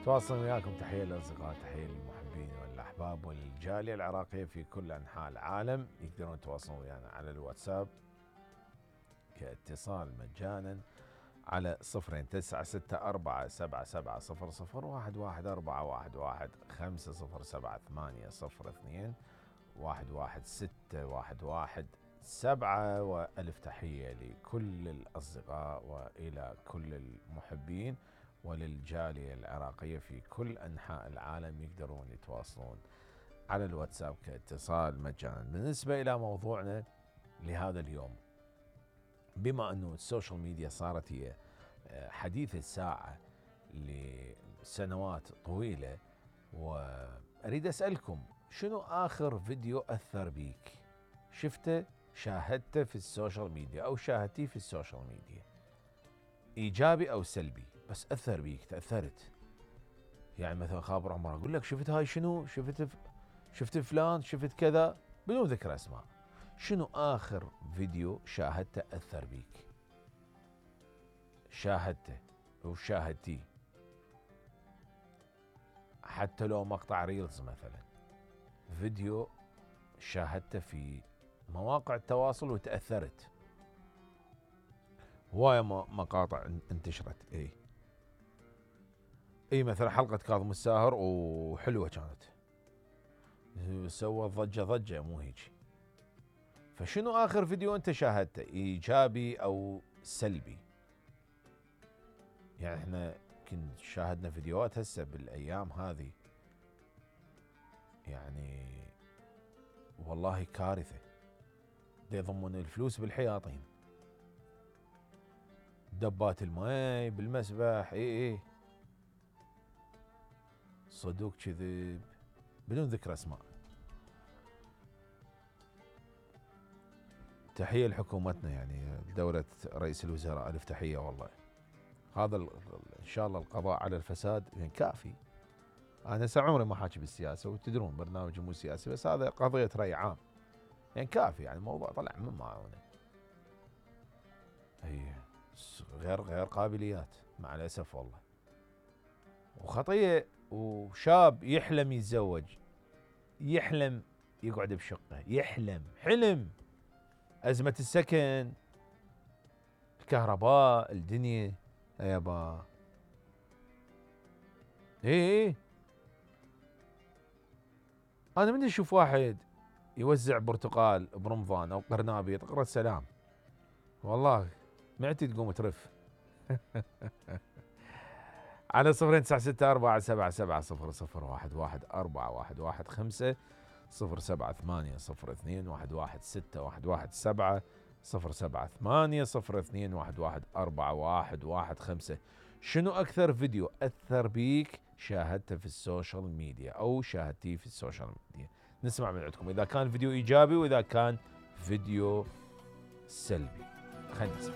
تواصل وياكم. تحية للأصدقاء، تحية للمحبين والأحباب والجالية العراقية في كل أنحاء العالم. يقدرون يتواصلون ويانا على الواتساب كاتصال مجانا على 096411700116802116117. وألف تحية لكل الأصدقاء وإلى كل المحبين وللجالية العراقية في كل أنحاء العالم. يقدرون يتواصلون على الواتساب كاتصال مجانا. بالنسبة إلى موضوعنا لهذا اليوم، بما أنه السوشيال ميديا صارت هي حديث الساعة لسنوات طويلة، وأريد أسألكم شنو آخر فيديو أثر بيك؟ شفته، شاهدته في السوشيال ميديا أو شاهدتيه في السوشيال ميديا، إيجابي أو سلبي، بس أثر بيك، تأثرت. يعني مثلا خابر عمر أقول لك شفت هاي شنو، شفت فلان، شفت كذا، بدون ذكر أسماء. شنو آخر فيديو شاهدته أثر بيك؟ شاهدته أو شاهدتيه، حتى لو مقطع ريلز مثلا، فيديو شاهدته في مواقع التواصل وتأثرت. هواية مقاطع انتشرت، اي مثلا حلقة كاظم الساهر وحلوة كانت، سوى ضجة مو هيك. فشنو آخر فيديو أنت شاهدته، إيجابي أو سلبي؟ يعني احنا كنت شاهدنا فيديوهات هسه بالأيام هذه، يعني والله كارثة. يضمون الفلوس بالحياطين، دبات الماء بالمسبح، صدوق كذب، بدون ذكر أسماء. تحية لحكومتنا، يعني دولة رئيس الوزراء، ألف تحية والله. هذا إن شاء الله القضاء على الفساد يعني كافي. أنا عمري ما حاكي بالسياسة، وتدرون برنامج مو سياسي، بس هذا قضية رأي عام، يعني كافي. يعني الموضوع طلع من معونه، غير قابليات مع الأسف والله. وخطية. وشاب يحلم يتزوج، يحلم يقعد بشقة، حلم. أزمة السكن، الكهرباء، الدنيا، يابا. أنا من أشوف واحد يوزع برتقال برمضان أو قرنابيط، اقرأ السلام، والله معتي تقوم ترف. على 096477700114115 078022117 07802211115. شنو أكثر فيديو أثر بيك شاهدته في السوشيال ميديا أو شاهدتيه في السوشيال ميديا؟ نسمع من عندكم، إذا كان فيديو إيجابي وإذا كان فيديو سلبي. خلينا نسمع.